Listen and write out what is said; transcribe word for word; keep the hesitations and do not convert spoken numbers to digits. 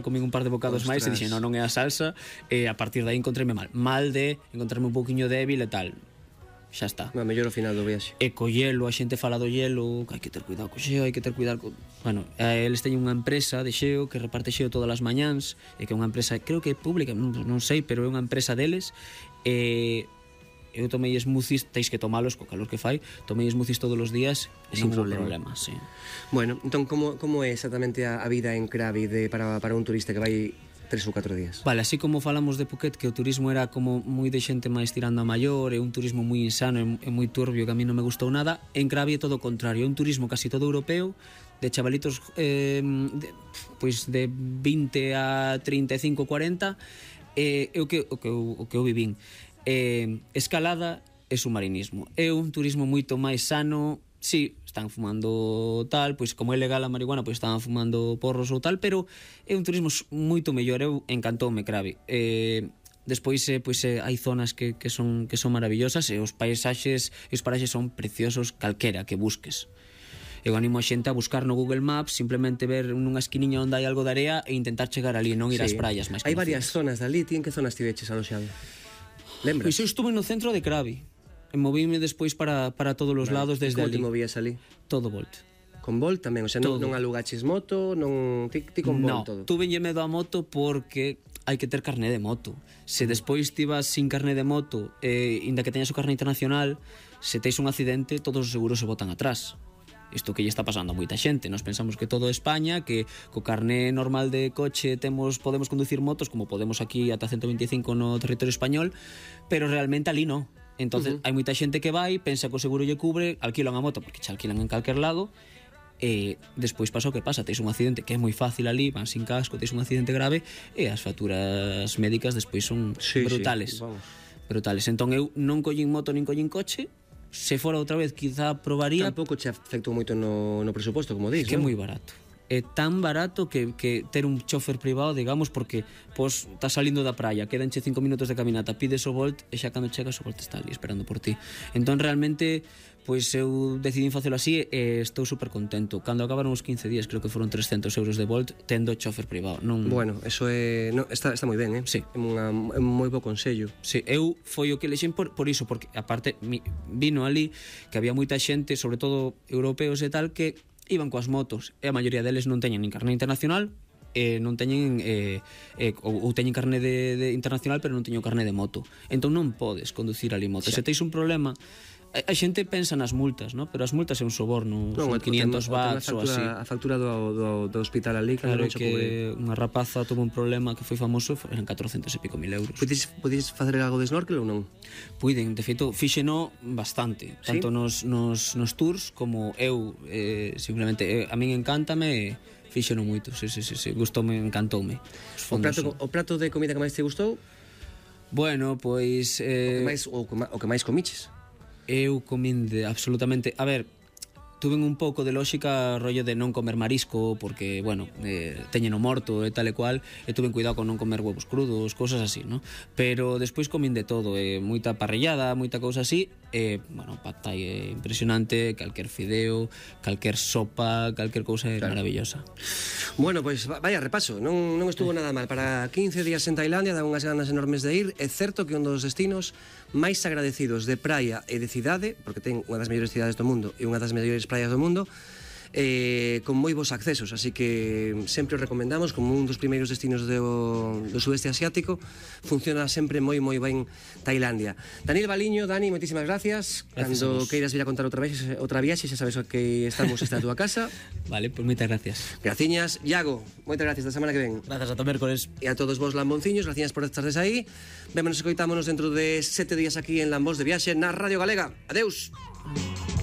comín un par de bocados máis e dixen, non, non é a salsa, e a partir de aí encontréme mal. Mal de encontrarme un pouquiño débil e tal. Xa está. A mellor ao final do viaxe. E co hielo, a xente fala do hielo, que hai que ter cuidado co xeo, hai que ter cuidado co... Bueno, eles teñen unha empresa de xeo que reparte xeo todas as mañáns, e que é unha empresa, creo que é pública, non, non sei, pero é unha empresa deles, e eu tomei smoothies, teis que tomalos co calor que fai, tomei smoothies todos os días e sin problema, problema sí. Bueno, entón, como, como é exactamente a, a vida en Krabi de, para, para un turista que vai tres ou catro días? Vale, así como falamos de Phuket, que o turismo era como moi de xente máis tirando a maior, é un turismo moi insano e moi turbio que a mí non me gustou nada, en Krabi é todo o contrario, é un turismo casi todo europeo, de chavalitos eh, de, pois de vinte a trinta e cinco, cuarenta, e eh, o que, o que, o que eu vivín. Eh, escalada e submarinismo. É un turismo moito máis sano. Sí, están fumando tal, pois como é legal a marihuana, pois están fumando porros ou tal, pero é un turismo moito mellor. Eu encantoume Krabi. Eh, despois eh, pois eh, hai zonas que, que son que son maravillosas e os paisaxes e os paraxes son preciosos calquera que busques. Eu animo a xente a buscar no Google Maps, simplemente ver nunha esquiniña onde hai algo de area e intentar chegar ali, non ir ás sí. praias máis hai conocidas. varias zonas dali, ti en que zonas tiveches aloxado? Lembras? Pois eu estuve no centro de Krabi. E movíme despois para, para todos os vale. lados desde ali. ali. Como te movías ali? Todo Bolt. Con Bolt tamén? O sea, non, non alugaches moto, non... Ti, ti con Bolt no, todo? No, tuvenlle medo a moto porque hai que ter carné de moto. Se despois ti vas sin carné de moto, eh, inda que teñas o carné internacional, se teis un accidente, todos os seguros se botan atrás. Isto que lle está pasando a moita xente. Nos pensamos que todo España, que co carné normal de coche temos podemos conducir motos como podemos aquí ata ciento veinticinco no territorio español, pero realmente ali non. Entonces, uh -huh. hai moita xente que vai, pensa que o seguro lle cubre, alquilan a moto porque xa alquilan en calquer lado, e despois pasa o que pasa, teis un accidente que é moi fácil ali, van sin casco, teis un accidente grave e as facturas médicas despois son sí, brutales. Sí, vamos. Brutales. Entón eu non collín moto nin collín coche. Se fora outra vez, quizá probaría. Tampouco che afectou moito no, no presuposto, como dis, que non? É moi barato. É tan barato que, que ter un chofer privado, digamos, porque pois estás salindo da praia, quedanche cinco minutos de caminata, pides o Bolt e xa cando chegas o Bolt está ali esperando por ti. Entón realmente pois eu decidín facelo así e estou super contento. Cando acabaron os quince días, creo que foron trescentos euros de Bolt tendo chofer privado. Non... Bueno, eso é no, está, está moi ben, eh? Sí. É unha, un moi bo consello. Sí, eu foi o que lexen por, por iso, porque aparte mi, vino ali que había moita xente, sobre todo europeos e tal, que iban coas motos e a maioría deles non teñen nin carné internacional e non teñen eh, eh, ou, ou teñen carné de, de internacional pero non teñen carné de moto, entón non podes conducir ali moto. Se teis un problema, a, a xente pensa nas multas, ¿no? Pero as multas é un soborno, non, son quinientos watts ou así. A factura do, do, do hospital ali, claro, que cubre. Unha rapaza tuvo un problema que foi famoso, eran catrocentos e pico mil euros. Podes, podes facer algo de snorkel ou non? Puiden, de feito, fíxeno bastante, ¿Sí? Tanto nos, nos, nos tours como eu, eh, simplemente, eh, a min encántame, fíxeno moito, sí, sí, sí, sí, gustoume, encantoume. O prato, o prato de comida que máis te gustou? Bueno, pois... O Eh, que máis, o, o que máis comiches? Eu comín de absolutamente... A ver, tuven un pouco de lógica rollo de non comer marisco porque, bueno, eh, teñeno morto e tal e cual, e tuven cuidado con non comer huevos crudos, cosas así, ¿no? Pero despois comín de todo, eh, moita parrillada, moita cousa así, e, eh, bueno, pad thai é impresionante, calquer fideo, calquer sopa, calquer cousa é claro. Maravillosa. Bueno, pois pues, vaya repaso, non, non estuvo nada mal. Para quince días en Tailandia, dan unhas ganas enormes de ir. É certo que un dos destinos máis agradecidos de praia e de cidade, porque ten unha das mellores cidades do mundo e unha das mellores praias do mundo, eh, con moi bons accesos, así que sempre os recomendamos como un dos primeiros destinos do, do sudeste asiático. Funciona sempre moi moi ben Tailandia. Daniel Baliño, Dani, moitísimas gracias. Gracias. Cando queiras vir a contar outra vez outra viaxe, xa sabes que estamos esta a túa casa. Vale, pois pues moitas gracias. Graciñas, Iago, moitas gracias, da semana que ven. Grazas, ata mércores. E a todos vos lambonciños, gracias por estardes aí. Vémonos e coitámonos dentro de sete días aquí en Lambos de Viaxe na Radio Galega. Adeus.